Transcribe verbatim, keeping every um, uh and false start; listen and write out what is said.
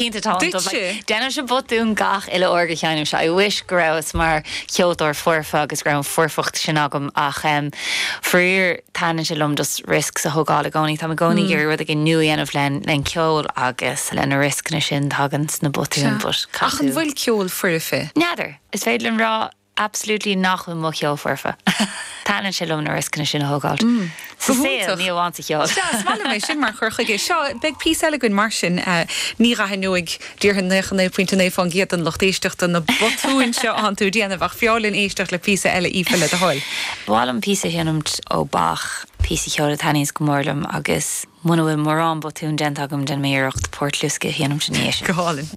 Cinnte tá. Déanaimse botún gach uile uair go sheinnimse. I wish go rabhas mar cheoltóir foirfe agus go raibh an foirfeacht sin agam ach um, faraor taitníonn sé liom just risks a thógáil i gcónaí. Tá i gcónaí ag iarraidh rud éigin nua a dhéanamh len len ceol agus le na riscanna sin tagann na botúin. Ach an bhfuil ceol foirfe? N'fheadar, is féidir liom rá absolutely nach bhfuil mo cheol foirfe. Taitníonn sé liom na riscanna sin a thógáil. Sa saol ní amháin sa cheol. mé sin mar chur chuige seo beidh píosa eile againn mar sin eh, ní aithneoidh déarfainn nócha naoi pointe naoi faoin gcéad den lucht éisteachta na botúin seo atá tú ag déanamh ach b'fhearr linn éisteacht le píosa eile Aoife le do thoil. B'áil liom píosa a sheinmt ó Bach píosa ceoil a thaitníonns go mór liom agus muna bhfuil mórán botún déanta agam déanfaidh mé iarracht Port Lusca a sheinmt inniu. Go hálainn.